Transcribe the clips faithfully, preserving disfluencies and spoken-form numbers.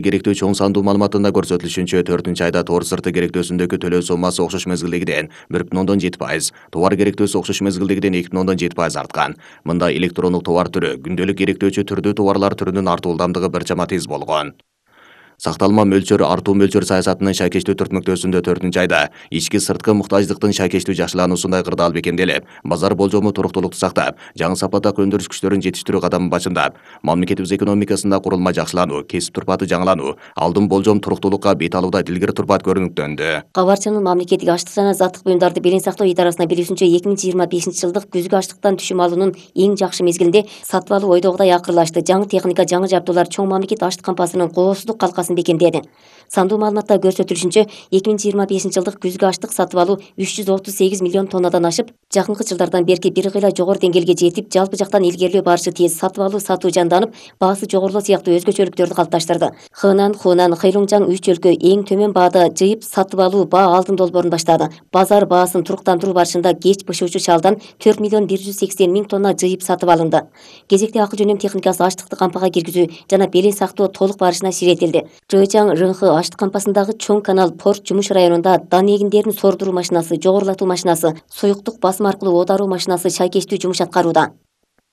Керектөө чоң сандуу маалыматында көрсөтүлүшүнчө төртүнчү айда товар сырты керектөөсүндөгү төлөө соммасы окшош мезгилдегиден бир бүтүн ондон жети пайыз, товар керектөөсү окшош мезгилдегиден эки бүтүн ондон жети пайыз арткан. Мында электрондук товар түрү, күндөлүк керектөөчү түрдүү товарлар түрүнүн артуу ылдамдыгы бир чама тез болгон. Сакталма мөлчөр артуу мөлчөр саясатынын шайкештүү түртмөктөөсүндө төртүнчү айда ички сырткы муктаждыктын шайкештүү жакшылануусундай кырдаал бекемделип, базар болжому туруктуулукту сактап, жаңы сапаттагы өндүрүш күчтөрүн жетиштирүү кадамын башындап, мамлекетибиз экономикасында курулма жакшылануу, кесип турпаты жаңылануу, алдын болжом туруктуулукка бет алууда дилгир турпат көрүнүктөндү. Кабарчынын мамлекеттик аштык жана заттык буюмдарды белең сактоо идарасына билүүсүнчө эки миң жыйырма бешинчи жылдык күзгү аштыктан түшүм алуунун эң жакшы мезгилинде сатып алуу ойдогудай акырылашты. Жаңы техника, жаңы жабдуулар чоң мамлекет аштык кампасынын коопсуздук калкасын бекемдеди. Сандуу маалыматта көрсөтүлүшүнчө эки миң жыйырма бешинчи жылдык күзгү аштык сатып алуу үч жүз отуз сегиз миллион тоннадан ашып, жакынкы жылдардан берки бир кыйла жогору деңгээлге жетип, жалпы жактан илгерилөө барышы тез. Сатып алуу сатуу жанданып, баасы жогорулоо сыяктуу өзгөчөлүктөрдү калыпташтырды. Хынан, Хунан, Хэйлунжаң үч өлкө эң төмөн баада жыйып сатып алуу баа алдын долбоорун баштады. Базар баасын туруктандыруу барышында кеч бышуучу шалдан төрт миллион бир жүз сексен миң тонна жыйып сатып алынды. Кезекте акыл жөнөм техникасы аштыкты кампага киргизүү жана белең сактоо толук барышына ширетилди. Жыжаң РНХ аштык кампасындагы чоң канал порт жумуш районунда дан эгиндерин сордуруу машинасы, жогорулатуу машинасы, суюктук басым аркылуу оодаруу машинасы шайкештүү жумуш аткарууда.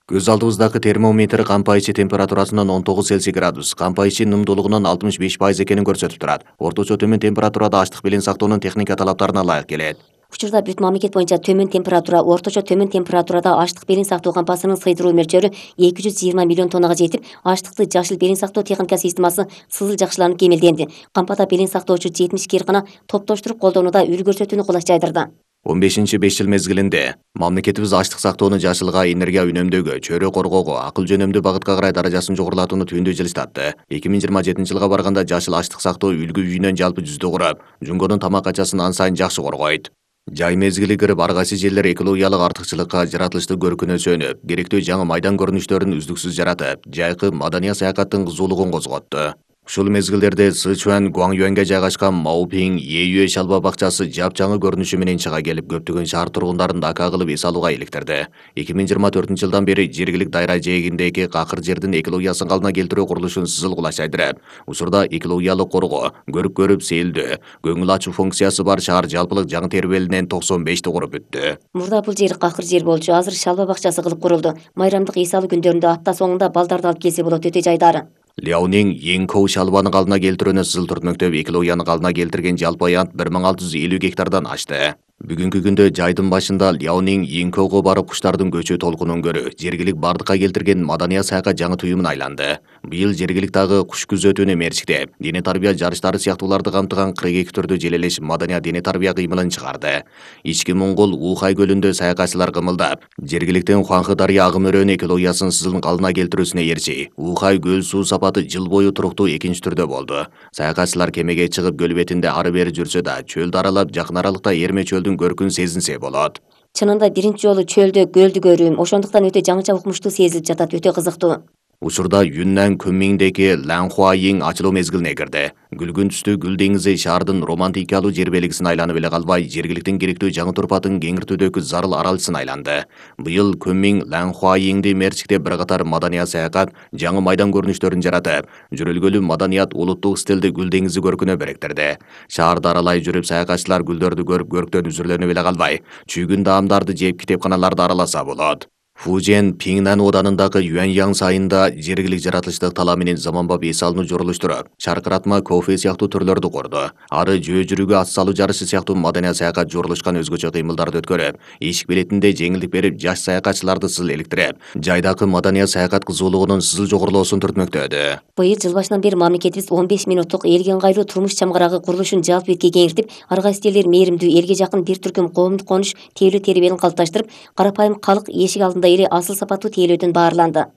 Көз алдыбыздагы термометр кампа ичи температурасынын он тогуз Цельсий градус, кампа ичи нымдуулугунун алтымыш беш пайыз экенин көрсөтүп турат. Орточо төмөн температурада аштык белең сактоонун техника талаптарына ылайык келет. Учурда бүт мамлекет боюнча төмөн температура, орточо төмөн температурада аштык белең сактоо кампасынын сыйдыруу мөлчөрү эки жүз жыйырма миллион тоннага жетип, аштыкты жашыл белең сактоо техника системасы сызыл жакшыланып кемелденди. Кампада белең сактоочу жетимиш кыйркана топтоштуруп колдонууда үл көрсөтүүнү кулаш жайдырды. он бешинчи беш жыл мезгилинде мамлекетибиз аштык сактоону жашылга, энергия үнөмдөөгө, чөйрө коргоого, акыл жөнөмдүү багытка карай даражасын жогорулатууну түйүндүү жылыштатты. эки миң жыйырма жетинчи жылга барганда жашыл аштык сактоо үлгү үйүнөн жалпы жүздү куруп, жунгонун тамак ачасын ан сайын жакшы коргойт. Жай мезгили кирип, ар кайсы жерлер экологиялык артыкчылыкка, жаратылыштык көркүнө сөнүп, керектүү жаңы майдан көрүнүштөрүн үздүксүз жаратып, жайкы маданий саякаттын кызуулугун козготту. Ушул мезгилдерде Сычуан Гуаңюанга жайгашкан Маопиң Эюэ шалба бакчасы жапжаңы көрүнүшү менен чыга келип, көптөгөн шаар тургундарын дака кылып эс алууга иликтирди. эки миң жыйырма төртүнчү жылдан бери жергилик дайра жээгиндеги какыр жердин экологиясын калыбына келтирүү курулушун сызыл кулаш жайдырып, учурда экологиялык коргоо, көрүп көрүп сейилдөө, көңүл ачуу функциясы бар шаар жалпылык жаңы тербелинен токсон бешти куруп бүттү. Мурда бул жер какыр жер болчу, азыр шалба бакчасы кылып курулду. Майрамдык эс алуу күндөрүндө апта соңунда балдарды алып келсе болот, өтө жайдары. Ляонин Еңкоу шалбаны калыбына келтирүүнү сызыл түртмөктөп, экологияны калыбына келтирген жалпы аянт бир миң алты жүз элүү гектардан ашты. Бүгүнкү күндө жайдын башында Ляонин Еңкоого барып куштардын көчү толкунун көрүү, жергилик бардыкка келтирген маданий саякат жаңы туюмун айланды. Быйыл жергилик дагы куш күзөтүүнү мерчиктеп, дене тарбия жарыштары сыяктууларды камтыган кырк эки түрдүү желелеш маданий дене тарбия кыймылын чыгарды. Ички Моңгол Ухай көлүндө саякатчылар кымылдап, жергиликтен Хуаңхы дарыя агым өрөөнү экологиясын сызылын калыбына келтирүүсүнө эриши, Ухай көл суу сапаты жыл бою туруктуу экинчи түрдө болду. Саякатчылар кемеге чыгып көл бетинде ары бери жүрсө да, чөлдү аралап жакын аралыкта Эрме чөлдүн көркүн сезинсе болот. Чынында биринчи жолу чөлдө көлдү көрүүм, ошондуктан өтө жаңыча укмуштуу сезилип жатат, өтө кызыктуу. Учурда Юннан Кунмиңдеги Ланхуайың ачылуу мезгилине кирди. Гүлгүн түстүү Гүл деңизи шаардын романтикалуу жер белгисин айланып эле калбай, жергиликтин керектүү жаңы турпатын кеңиртүүдөгү зарыл аралчысын айланды. Быйыл Кунмиң Ланхуайыңди мерчиктеп бир катар маданий саякат, жаңы майдан көрүнүштөрүн жаратып, жүрөлгөлүү маданият улуттук стилди Гүл деңизи көркүнө бириктирди. Шаарды аралай жүрүп саякатчылар гүлдөрдү көрүп көрктөн үзүрлөнүп эле калбай, чүйгүн даамдарды жеп китепканаларды араласа болот. Фужен Пиңнан оданындагы Юаньяң сайында жергилик жаратылыштык талаа менен заманбап эс алууну журулуштуруп, чаркыратма кофе сыяктуу түрлөрдү курду. Ары жөө жүрүүгө ат салуу жарышы сыяктуу маданий саякат журулушкан өзгөчө кыймылдарды өткөрүп, эшик билетинде жеңилдик берип, жаш саякатчыларды сызыл иликтирип, жайдагы маданий саякат кызуулугунун сызыл жогорулоосун түртмөктөдү. Быйыл жыл башынан бери мамлекетибиз он беш минуттук элге ыңгайлуу турмуш чамгарагы курулушун жалпы бетке кеңиртип, ар кайсы жерлер мээримдүү, элге жакын бир түркүм коомдук конуш тейлөө тербелин калыпташтырып, карапайым калк эшик алдында эле асыл сапаттуу тейлөөдөн баарланды.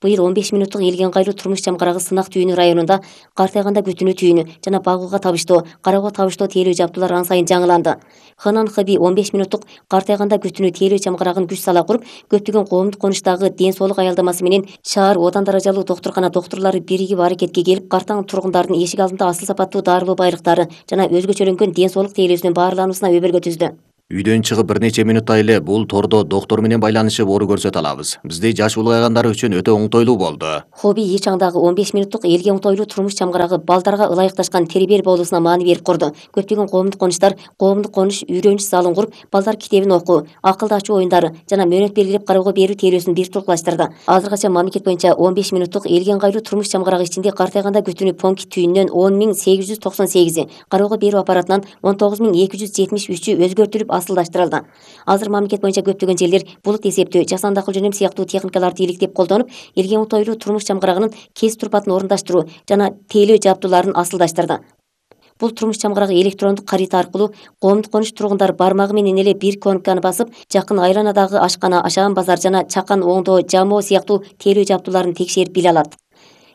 Быйыл он беш минуттук элге ыңгайлуу турмуш чамгарагы сынак түйүнү районунда картайганда күтүнүү түйүнү жана багууга табыштоо, кароого табыштоо тейлөө жабдуулар ан сайын жаңыланды. Хынан Хэби он беш минуттук картайганда күтүнүү тейлөө чамгарагын күч сала куруп, көптөгөн коомдук конуштагы ден соолук аялдамасы менен шаар одан даражалуу доктуркана доктурлары биригип аракетке келип, картаң тургундардын эшик алдында асыл сапаттуу дарылоо байрактары жана өзгөчөлөнгөн ден соолук тейлөөсүнүн баарлануусуна өбөлгө түздү. Үйдөн чыгып бир нече мүнутта эле бул тордо доктор менен байланышып оор көрсөтө алабыз. Биздей жаш улгайгандар үчүн өтө оңтойлуу болду. Хобби Ичаңдагы он беш минуттук элге оңтойлуу турмуш чамгарагы балдарга ылайыкташкан тербиел болуусуна маани берип курду. Көптөгөн коомдук конуштар, коомдук конуш үйрөнүш залын куруп, балдар китебин окуу, акылды ачуу оюндары жана мөөнөт белгилеп кароого берүү тейлөөсүн биртурукташтырды. Азыркыча мамлекет боюнча он беш минуттук элге ыңгайлуу турмуш чамгарагы ичинде картайганда күтүүнү пункт түйүнүнөн он миң сегиз жүз токсон сегизи, кароого берүү аппаратынан он тогуз миң эки жүз жетимиш үчү өзгөртүлүп асылдаштырылды. Азыр мамлекет боюнча көптөгөн жерлер булут эсептөө, жасанды акыл жөнөм сыяктуу техникаларды иликтеп колдонуп, элге оңтойлуу турмуш чамгарагынын кес турпатын орундаштыруу жана тейлөө жабдууларын асылдаштырды. Бул турмуш чамгарагы электрондук карита аркылуу коомдук конуш тургундар бармагы менен эле бир кнопканы басып, жакын айланадагы ашкана, ашаган базар жана чакан оңдоо, жамоо сыяктуу тейлөө жабдууларын текшерип биле алат.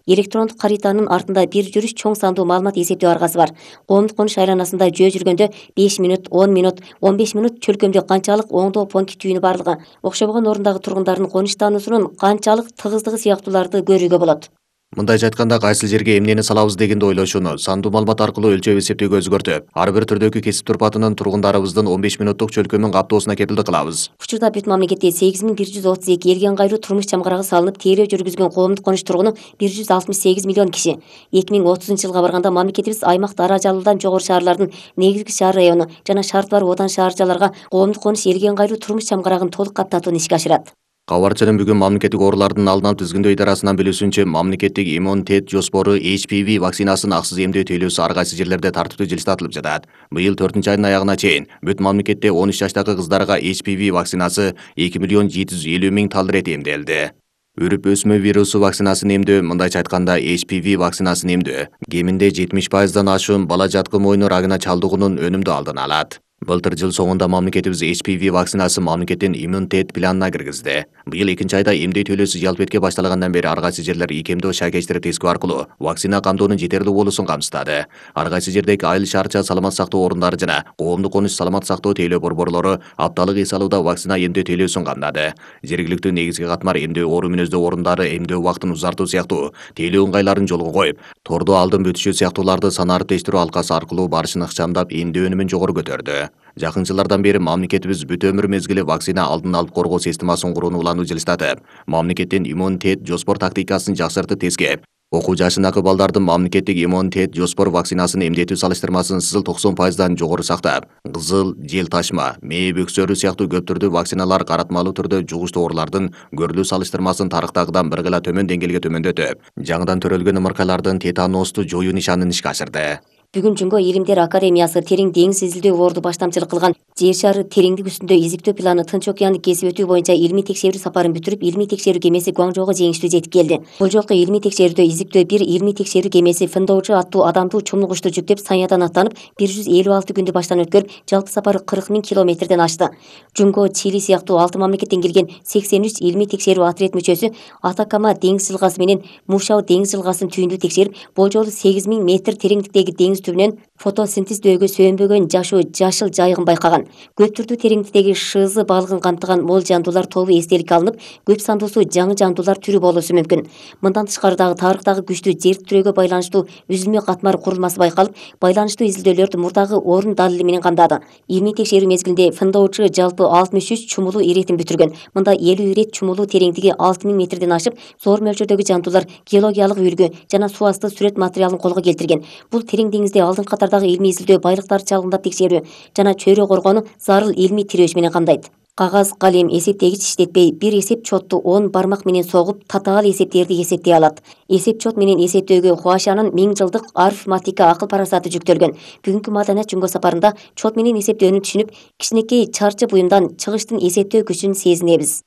Электрондук каританын артында бир жүрүш чоң сандуу маалымат эсептөө аргасы бар. Коомдук конуш айланасында жөө жүргөндө беш минут, он минут, он беш минут чөлкөмдө канчалык оңдоо пункт түйүнү барлыгы, окшобогон орундагы тургундардын конуш таануусунун канчалык тыгыздыгы сыяктууларды көрүүгө болот. Мындайча айтканда, кайсыл жерге эмнени салабыз дегенди ойлошууну, сандуу маалымат аркылуу өлчөп эсептөөгө өзгөртүп, ар бир түрдөгү кесип турпатынын тургундарыбыздын он беш минуттук чөлкөмүн каптоосуна кепилдик кылабыз. Учурда бүт мамлекетте сегиз миң бир жүз отуз эки элге ыңгайлуу турмуш чамгарагы салынып, тейлөө жүргүзгөн коомдук конуш тургуну бир жүз алтымыш сегиз миллион киши. эки миң отузунчу жылга барганда мамлекетибиз аймак дара жалылдан жогору шаарлардын негизги шаар району жана шарты бар одан шаарчаларга коомдук конуш элге ыңгайлуу турмуш чамгарагын толук каптатууну ишке ашырат. Кабарчынын бүгүн мамлекеттик оорулардын алдын алып тизгиндөө идарасынан билүүсүнчө, мамлекеттик иммунитет жоспору эйч пи ви вакцинасын аксыз эмдөө тейлөөсү ар кайсы жерлерде тартиптүү жылыстатылып жатат. Быйыл төртүнчү айдын аягына чейин бүт мамлекетте он үч жаштагы кыздарга эйч пи ви вакцинасы эки миллион жети жүз элүү миң тал ирет эмделди. Үрүп өсмө вирусу вакцинасын эмдөө, мындайча айтканда эйч пи ви вакцинасын эмдөө кеминде жетимиш пайыздан ашуун бала жаткы мойну рагына чалдыгуунун өнүмдүү алдын алат. Былтыр жыл соңунда мамлекетибиз эйч пи ви вакцинасын мамлекеттин иммунитет планына киргизди. Быйыл экинчи айда эмдөө төлөөсү жалпетке башталгандан бери ар кайсы жерлер икемдөө шакештери тескөө аркылуу вакцина камтоонун жетерлүү болуусун камсыздады. Ар кайсы жердеги айыл шаарча саламат сактоо орундары жана коомдук конуш саламат сактоо тейлөө борборлору апталык эс алууда вакцина эмдөө тейлөөсүн камдады. Жергиликтүү негизги катмар эмдөө оору мүнөздөө орундары эмдөө убактын узартуу сыяктуу тейлөө ыңгайларын жолго коюп, тордо алдын бүтүшү сыяктууларды санарип тештирүү алкасы аркылуу барышын ыкчамдап эмдөө өнүмүн жогору көтөрдү. Жакын жылдардан бери мамлекетибиз бүт өмүр мезгили вакцина алдын алып коргоо системасын курууну улануу жылыстатып, мамлекеттин иммунитет жоспор тактикасын жакшыртып тескеп, окуу жашындагы балдардын мамлекеттик иммунитет жоспор вакцинасын эмдетүү салыштырмасын сызыл токсон пайыздан жогору сактап, кызыл, жел ташма, мээ бөксөрү сыяктуу көп түрдүү вакциналар каратмалуу түрдө жугуштуу оорулардын көрүлүү салыштырмасын тарыктагыдан бир гыла төмөн деңгээлге төмөндөтүп, жаңыдан төрөлгөн ымыркалардын тетаносту жоюу нишанын ишке ашырды. Бүгүн Жөнгө Илимдер Академиясы терең деңиз изилдөө борду баштамчылык кылган жер шары тереңдик үстүндө изиктөө планы Тынч океанды кесип өтүү боюнча илмий текшерүү сапарын бүтүрүп, илмий текшерүү кемеси Гуаңжоого жеңиштүү жетип келди. Бул жолку илмий текшерүүдө изиктөө бир илмий текшерүү кемеси Фындоочу аттуу адамдуу чумулгучту жүктөп Санядан аттанып, бир жүз элүү алты күндү баштан өткөрүп, жалпы сапары кырк миң километрден ашты. Жөнгө, Чили сыяктуу алты мамлекеттен келген сексен үч илмий текшерүү отряд мүчөсү Атакама деңиз жылгасы менен Мушау деңиз жылгасын түйүндүү текшерип, бул жолу сегиз миң метр тереңдиктеги деңиз түбүнөн фотосинтездөөгө сөнбөгөн жашыл жашыл жайыгын байкаган. Көп түрдүү тереңдиктеги шызы балыгын камтыган мол жандуулар тобу эстеликке алынып, көп сандуусу жаңы жандуулар түрү болуусу мүмкүн. Мындан тышкары дагы тарыхтагы күчтүү жер тирөөгө байланыштуу үзүлмө катмар курулмасы байкалып, байланыштуу изилдөөлөрдү мурдагы орун далили менен камдады. Илмий текшерүү мезгилинде Фындоочу жалпы алтымыш үч чумулуу иретин бүтүргөн. Мында элүү ирет чумулуу тереңдиги алты миң метрден ашып, зор мөлчөрдөгү жандуулар геологиялык үлгү жана суу асты сүрөт материалын колго келтирген. Бул терең деңизде алдыңкы катардагы илмий изилдөө байлыктарды чалгындап текшерүү жана чөйрө коргоону зарыл илмий тирөөш менен камдайт. Кагаз, калем, эсептегич иштетпей, бир эсеп чотту он бармак менен согуп, татаал эсептерди эсептей алат. Эсеп чот менен эсептөөгө Хуашанын миң жылдык арифматика акыл парасаты жүктөлгөн. Бүгүнкү маданият жөнгө сапарында чот менен эсептөөнү түшүнүп, кичинекей чарчы буюмдан чыгыштын эсептөө күчүн сезинебиз.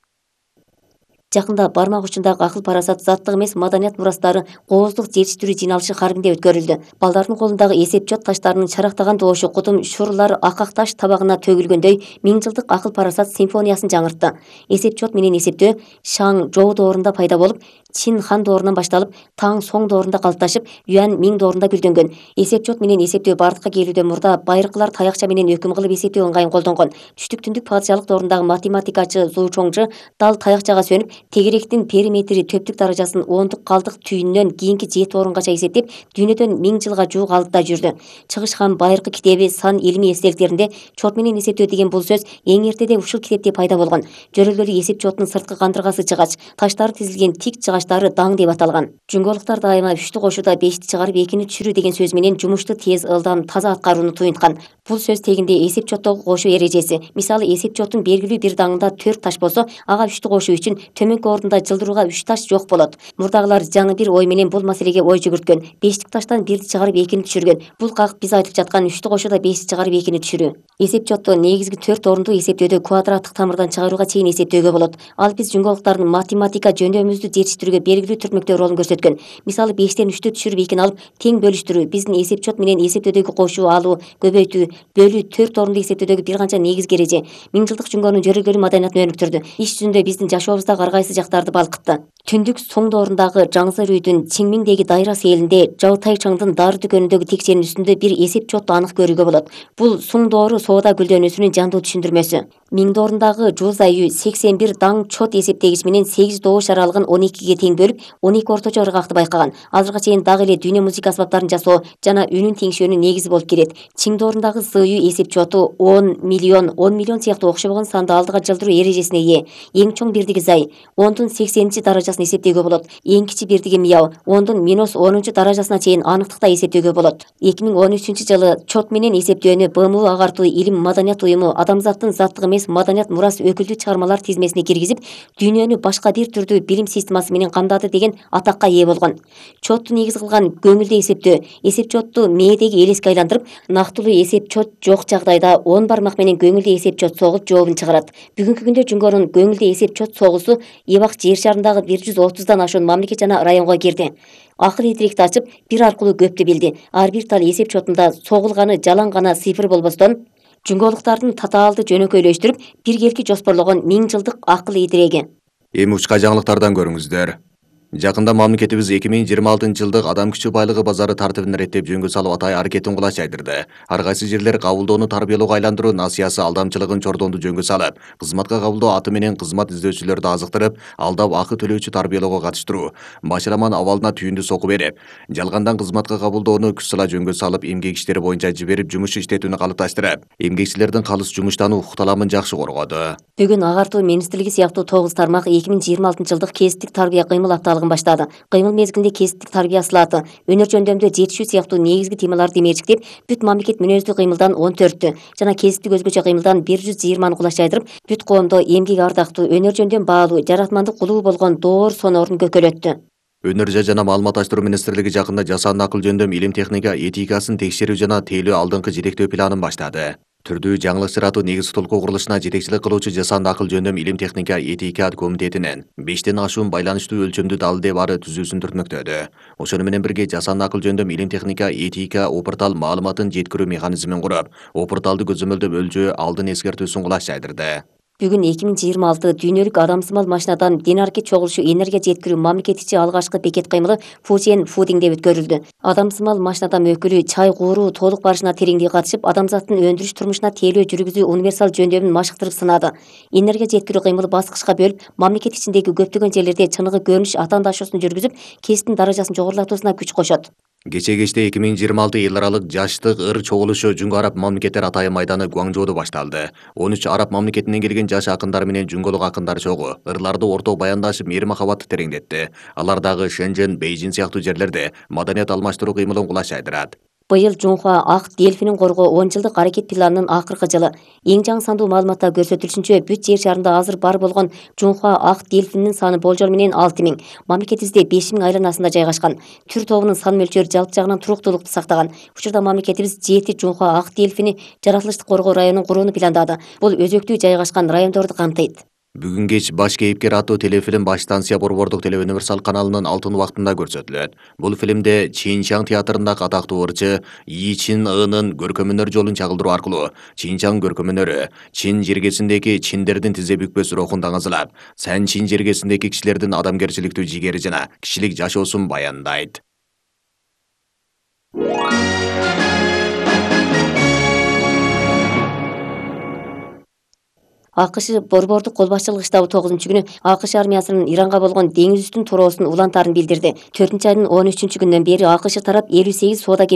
Жакында бармак учундагы акыл парасат заттык эмес маданият мурастары кооздук жетиштирүү жыйналышы Харбинде өткөрүлдү. Балдардын колундагы эсеп чот таштарынын чарактаган добушу кутум шурлар акак таш табагына төгүлгөндөй миң жылдык акыл парасат симфониясын жаңыртты. Эсеп чот менен эсептөө шаң жоодо орунда пайда болуп, Чин хан доорунан башталып, Таң Соң доорунда калыпташып, Юань Миң доорунда гүлдөнгөн. Эсеп-чот менен эсептөө бардыкка келүүдөн мурда байыркылар таякча менен өкүм кылып эсептөө ыңгайын колдонгон. Түштүк түндүк падышалык доорундагы математикачы Зу Чоңжу дал таякчага сөнүп, тегеректин периметри төптүк даражасын ондук калдык түйүнүнөн кийинки жети орунгача эсептеп, дүйнөдөн миң жылга жуук алдыда жүрдү. Чыгыш хан байыркы китеби Сан илимий эстеликтеринде чот менен эсептөө деген бул сөз эң эртеде ушул китепте пайда болгон. Жөрөлгөлү эсеп-чоттун сырткы кандыргасы жыгач, таштары тизилген тик жыгачтары даң деп аталган. Жуңголуктар дайыма үчтү кошууда бешти чыгарып экини түшүрүү деген сөз менен жумушту тез, ылдам, таза аткарууну туюнткан. Бул сөз тегинде эсеп-чоттогу кошуу эрежеси. Мисалы, эсеп-чоттун белгилүү бир даңында төрт таш болсо, ага үчтү кошуу үчүн төмөнкү ордунда жылдырууга үч таш жок болот. Мурдагылар жаңы бир ой менен бул маселеге ой жүгүрткөн. Бештик таштан бирди чыгарып экини түшүргөн. Бул как биз айтып жаткан үчтү кошууда бешти чыгарып экини түшүрүү. Эсеп-чотто негизги төрт орунду эсептөөдө квадраттык тамырдан чыгарууга чейин эсептөөгө болот. Ал биз жуңголуктардын математика жөндөмүбүздү жетиштирүүгө белгилүү түрмөктүү ролун көрсөткөн. Мисалы, бештен үчтү түшүрүп экини алып тең бөлүштүрүү биздин эсеп-чот менен эсептөөдөгү кошуу, алуу, көбөйтүү, бөлүү, төрт орунду эсептөөдөгү бир канча негизги эреже. Миң жылдык жуңгонун жөрөлгөлү маданиятын өнүктүрдү. Иш жүзүндө биздин жашообуздагы ар кайсы жактарды балкытты. Түндүк Соң доорундагы Жаңзы Рүйдүн Чиңмиңдеги Дайрас элинде Жао Тайчаңдын дары дүкөнүндөгү текченин үстүндө бир эсеп-чотту анык көрүүгө болот. Бул Суң доору соода гүлдөнүүсүнүн жандуу түшүндүрмөсү. Миң доорундагы Жузайю сексен бир даң чот эсептегич менен сегиз добуш аралыгын он экиге тең бөлүп, он эки орточо ыргакты байкаган. Азыркыга чейин дагы эле дүйнө музыка аспаптарын жасоо жана үнүн теңшөөнүн негизи болуп келет. Чиң доорундагы Зыю эсеп-чоту он миллион, он миллион сыяктуу окшобогон санды алдыга жылдыруу эрежесине ээ. Эң чоң бирдиги Зай, ондун сексенинчи даражасын эсептөөгө болот. Эң кичи бирдиги Мияу, ондун минус онунчу даражасына чейин аныктыкта эсептөөгө болот. эки миң он үчүнчү жылы чот менен эсептөөнү Б М У агартуу илим маданият уюму адамзаттын заттык эмес маданият мурас өкүлдүү чыгармалар тизмесине киргизип, дүйнөнү башка бир түрдүү билим системасы менен камдады деген атакка ээ болгон. Чотту негиз кылган көңүлдүү эсептөө, эсеп-чотту мээдеги элеске айландырып, нактылуу эсеп-чот жок жагдайда он бармак менен көңүлдүү эсеп-чот согуп жообун чыгарат. Бүгүнкү күндө жуңгонун көңүлдүү эсеп-чот согуусу эбак жер шарындагы бир жүз отуздан ашуун мамлекет жана районго кирди. Акыл этирикти ачып, бир аркылуу көптү билди. Ар бир тал эсеп-чотунда согулганы жалаң гана цифр болбостон, жуңголуктардын татаалды жөнөкөйлөштүрүп, биргелки жоспорлогон миң жылдык акыл этиреги. Эми учка жаңылыктардан көрүңүздөр. Жакында мамлекетибиз эки миң жыйырма алтынчы жылдык адам күчү байлыгы базары тартибин реттеп жөнгө салып атай аракетин кулаш айдырды. Ар кайсы жерлер кабылдоону тарбиялоого айландыруу насыясы алдамчылыгын чордонду жөнгө салып, кызматка кабылдоо аты менен кызмат издөөчүлөрдү азыктырып, алдап акы төлөөчү тарбиялоого катыштыруу, башаламан абалына түйүндү соку берип, жалгандан кызматка кабылдоону күч сала жөнгө салып, эмгек иштери боюнча жиберип жумуш иштетүүнү калыпташтырып, эмгекчилердин калыс жумуштануу укук таламын жакшы коргоду. Бүгүн агартуу министрлиги сыяктуу тогуз тармак эки миң жыйырма алтынчы жылдык кесиптик тарбия кыймыл апталыгын баштады. Кыймыл мезгилинде кесиптик тарбия слаты, өнөр жөндөмдө жетишүү сыяктуу негизги темаларды демечиктеп, бүт мамлекет мүнөздүү кыймылдан он төрттү жана кесиптик өзгөчө кыймылдан бир жүз жыйырманы кулаш айдырып, бүт коомдо эмгек ардактуу, өнөр жөндөм баалуу, жаратмандык улуу болгон доор сонорун көкөлөттү. Өнөр жана маалыматташтыруу министрлиги жакында жасанды акыл жөндөм илим техника этикасын текшерүү жана тейлөө алдыңкы жетектөө планын баштады. Түрдүү жаңылык чыгаратуу негизги толкуу курулушуна жетекчилик кылуучу жасанды акыл жөндөм илим техника этика комитетинин бештен ашуун байланыштуу өлчөмдүү далилдөө бары түзүүсүн түртмөктөдү. Ошону менен бирге жасанды акыл жөндөм илим техника этика опуртал маалыматын жеткирүү механизмин куруп, опурталды көзөмөлдөп өлчөө алдын эскертүүсүн кулаш жайдырды. Бүгүн эки миң жыйырма алты дүйнөлүк адамсымал машинадан ден аракет чогулушу энергия жеткирүү мамлекет ичи алгачкы бекет кыймылы Фучен Фудиңде өткөрүлдү. Адамсымал машинадан өкүлү чай кууруу толук барышына тереңдей катышып, адамзаттын өндүрүш турмушуна тейлөө жүргүзүү универсал жөндөмүн машыктырып сынады. Энергия жеткирүү кыймылы баскычка бөлүп, мамлекет ичиндеги көптөгөн жерлерде чыныгы көрүнүш атаандашуусун жүргүзүп, кесиптин даражасын жогорулатуусуна күч кошот. Кече кечте эки миң жыйырма алты эл аралык жаштык ыр чогулушу Жүңгү Араб мамлекеттер атайын майданы Гуаңжоодо башталды. он үч араб мамлекетинен келген жаш акындар менен жүңгөлүк акындар чогуу ырларды ортого баяндашып, мээри махабатты тереңдетти. Алар дагы Шэньчжэн, Бейжиң сыяктуу жерлерде маданият алмаштыруу кыймылын кулаш айдырат. Быйыл Жунхуа ак дельфинин коргоо он жылдык аракет планынын акыркы жылы. Эң жаңы сандуу маалыматта көрсөтүлүшүнчө, бүт жер шарында азыр бар болгон Жунхуа ак дельфининин саны болжол менен алты миң. Мамлекетибизде беш миң айланасында жайгашкан. Түр тобунун сан мөлчөрү жалпы жагынан туруктуулукту сактаган. Учурда мамлекетибиз жети Жунхуа ак дельфини жаратылыштык коргоо районун курууну пландады. Бул өзөктүү жайгашкан райондорду камтыйт. Бүгүн кеч баш кейипкер аттуу телефилм Баш станция борбордук теле универсал каналынын алтын убактында көрсөтүлөт. Бул фильмде Чинчан театрындагы атактуу ырчы И Чин Ынын көркөм өнөр жолун чагылдыруу аркылуу Чинчан көркөм өнөрү, Чин жергесиндеги чиндердин тизе бүкпөс рухун даңазалап, Сан Чин жергесиндеги кишилердин адамгерчиликтүү жигери жана кишилик жашоосун баяндайт. АКШ борбордук кол башчылык штабы тогузунчу күнү АКШ армиясынын Иранга болгон деңиз үстүн туроосун улантаарын билдирди. төртүнчү айдын он үчүнчү күнүнөн бери АКШ тарап элүү сегиз соода